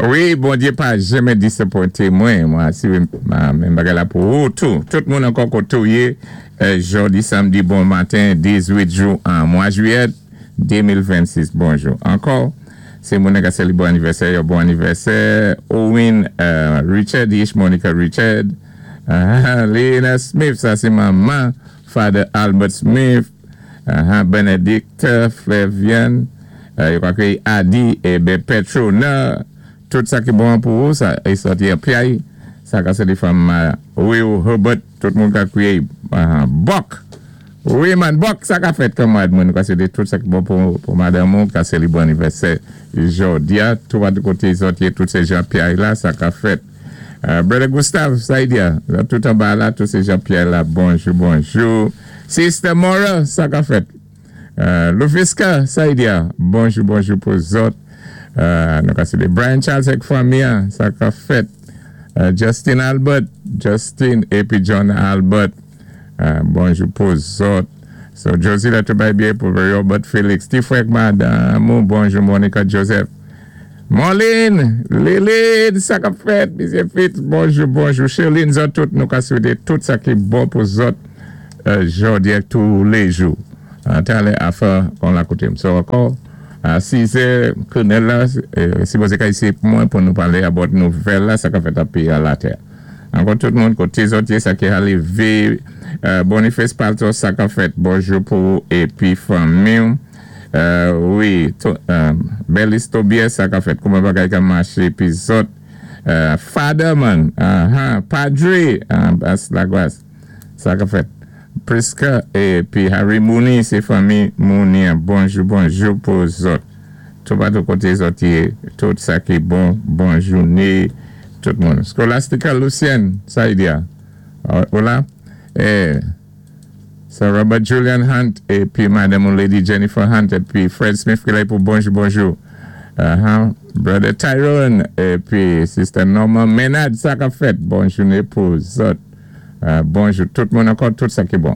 Wi, Bondyé pa janmen disapwenté mwen. Mwen asiré menm bagay la pou ou tou. Tout moun ankò koté ou yé jòdi samdi bon maten 18 jou an mwa jwiyèt 2026. Bonjou ankò. Sé moun ka sélibwé anivèsè yo, bon anivèsè. Owen Richard ich Monica Richard. Lena Smith, sa sé manman Father Albert Smith. Benedict Flavian, yo ka kwéyi Adi é Petrona. Tout sa ki bon pou ou, sa é sòti an Pyay. Sa ka sé fanm Will Herbert, tout moun ka kwéyi Buck. Wi man, Buck, sa ka fèt kanmwad mwen. Nou ka swété tout sa ki bon pou madanm ou, ka sélibwé anivèsè jòdi a. Tou patou koté zòt yé, tout sé jan Pyay la, sa ka fèt. Brother Gustave, sa y di a? Tout anba la, tout sé jan Pyay la. Bonjou, bonjou. Sister Mora, sa ka fèt? Lufiska, sa y di a? Bonjou, bonjou pou zòt. Nou ka swété Brian Charles ak fanmi an, sa ka fèt? Justin Albert, Justin épi John Albert, bonjou pou zòt. So Josie la tou bay byen pou Robert Felix. Ti frè ak madanm ou, bonjou Monica Joseph. Marlene, Lilin, sa ka fèt? Misye Fitz, bonjou, bonjou. Sherline, zòt tout, nou ka swété tout sa ki bon pou zòt jòdi ak tou lé jou. Talè afè kon la koté m. So ankò, a 6 è, Colonel la sipozé ka isi pou mwen pou nou palé about nouvèl la, sa ka fèt an péyi a latè. Ankò tout moun koté zòt yé, sa ki halivé, Boniface Palto, sa ka fèt? Bonjou pou ou épi fanmi ou. Wi, Belis Tobias, sa ka fèt? Kouman bagay ka maché épi zòt? Father man, Padre, Bas Lagwas, sa ka fèt? Prisca épi Harry Mooney, sé fanmi Mooney an. Bonjou, bonjou pou zòt. Toupatou koté zòt yé, tout sa ki bon, bon jouné tout moun. Scholastica Lucienne, sa y di a? Ou la? Sir Robert Julian Hunt épi madanm ou Lady Jennifer Hunt épi Fred Smith ki la pou bonjou bonjou. Brother Tyrone épi Sister Norma Menard, sa ka fèt? Bon jouné pou zòt. Bonjou tout moun ankò, tout sa ki bon.